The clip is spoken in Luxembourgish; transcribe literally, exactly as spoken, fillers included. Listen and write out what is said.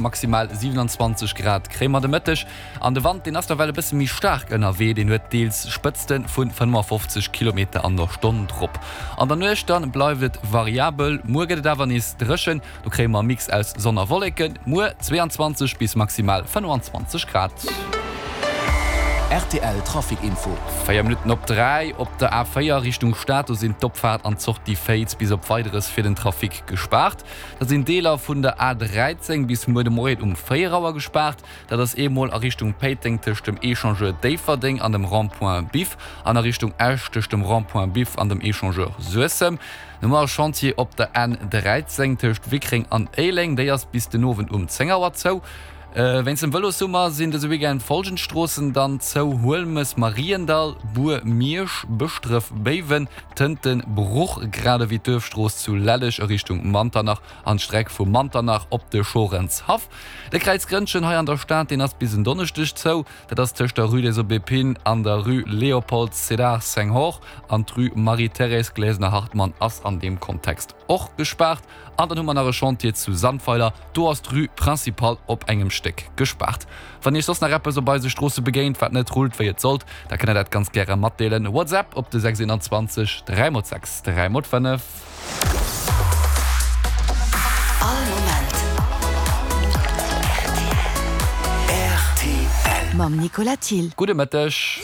Maximal siwenanzwanzeg Grad kréie mer de Mëtteg an de Wand, deen ass nawell e bësse méi staark ënnerwee, deen huet deels Spëtzte vu fënnefafofzeg Kilometer an der Stonn drop. An der Nuecht dann bleift et variabel, muer gëtt et awer nees dréchen, do kréie mer e Mix aus Sonn a Wolleken, muer zweeanzwanzeg bis maximal fënnefanzwanzeg Grad. Rtl Trafic Info. Véier Minutten op dräi op der A véier Richtung Stad, do sinn d'Opfaart an d'Sortie Féiz bis op Weideres fir den Trafic gespaart. Da sinn Deeler vun der A dräizéng bis muer de Moien um véier Auer gespaart. Dat ass eemol a Richtung Péiteng tëscht dem Echangeur Déifferdeng an dem Rond-point Biff an a Richtung Esch tëscht dem Rond-point Biff an dem Echangeur Suessem. No ass Chantier op der N dräizéng tëscht Wickreng an Éileng, déi ass bis den Owend um zéng Auer zou. Wéinst dem Vëlossummer sinn dëse Weekend folgend Stroossen dann zou, Huelmes, Mariendall, Bur, Miersch, Bëschdref, Béiwen, Tënten, Bruch, grad ewéi d'Duerfstrooss zu Lelleg a Richtung Manternach an d'Streck vu Manternach op de Schorenshaff. De Kräiz Grënnchen hei an der Stad, deen ass bis en Donneschdeg zou. Dat ass tëscht der Rue des Aubépines an der Rue Léopold Sédar Senghor an d'Rue Marie-Thérèse Glesener-Hartmann ass an deem Kontext och gespaart. An dann hu mer nach e Chantier zu Sandweiler, do ass d'Rue Principale op engem Stéck gespaart. Wann Iech soss nach eppes op eise Stroosse begéint, wat net rullt wéi et sollt, da kënnt der dat ganz gäre matdeelen. WhatsApp op de sechs eenanzwanzeg dräi mol sechs dräi mol fënnef. All Moment rtl. Mam Nicolas Thill. Gudde Mëtteg.